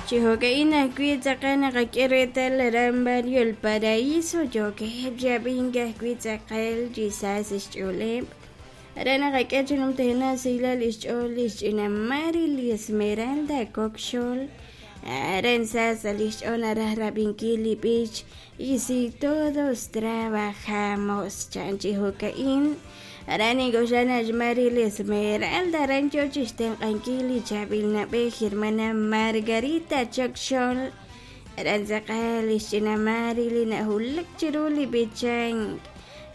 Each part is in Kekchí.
Chi jo'ka'in ajwi' tz'aqal naqak'e reetal aran Barrio El Paraíso yookeb' chi ab'ink ajwi' tz'aqal chi sa sa' xch'ooleb'. Aran naqak'e chi numtajenaq sahilal li xch'ool li xch'ina Mari li Esmeralda Kok Xol. Aran sa sa' li xch'ool naraj rab'inkil li b'ich Y si todos trabajamos chan chi jo'ka'in. Aran nink'oxla naq xMary li Esmeralda aran yoo chixtenq'ankil li chaab'il na'b'ej hermana Margarita Chok Xol. Aran tz'aqal lix ch'ina Mary li na'wulak chiru li b'ichank.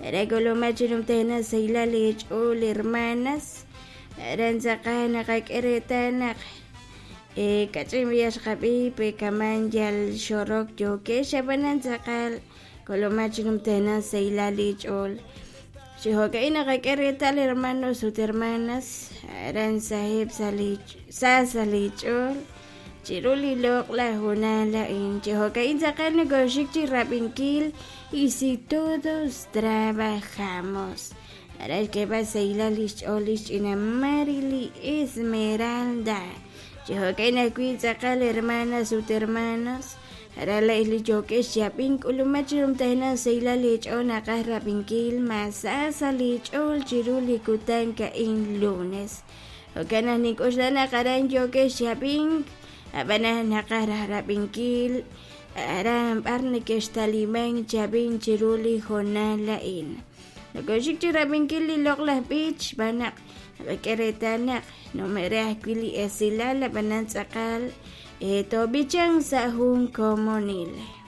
Aran k'ulumak chi numtajenaq sahilal eech'ool hermanas. Aran tz'aqal naqak'e reetal naq kach'in b'ayaq xqab'i pe kaman yal xorok yookex ab'anan tz'aqal k'ulumak chi numtajenaq sahilal eech'ool. Chi jo'ka'in naqak'e reetal hermanos ut hermanas aran saheb' sa' li sa sa' li ch'ool chiru li loq'laj hoonal a'in. Chi jo'ka'in tz'aqal nokoxik chi rab'inkil y si todos trabajamos. Aran xk'eeb'al sahilal li xch'ool li xch'ina Mary li Esmeralda. Chi jo'ka'in ajwi' tz'aqal hermanas ut hermanos aran la'ex li yookex chi ab'ink k'ulumak chi numtajenaq sahilal eech'ool naqaj rab'inkil ma sa sa' li ch'ool chiru li kutan a'in lunes. Jo'kan naq nink'oxla naq aran yookex chi ab'ink ab'anan naqaj raj rab'inkil aran b'ar nekextalimank chi ab'ink chiru li hoonal a'in. Nokoxik chi rab'inkil li loq'laj b'ich xb'aan naq naqak'e reetal naq nume're ajwi' li esilal ab'anan tz'aqal toob'ichanq sa' jun komonil.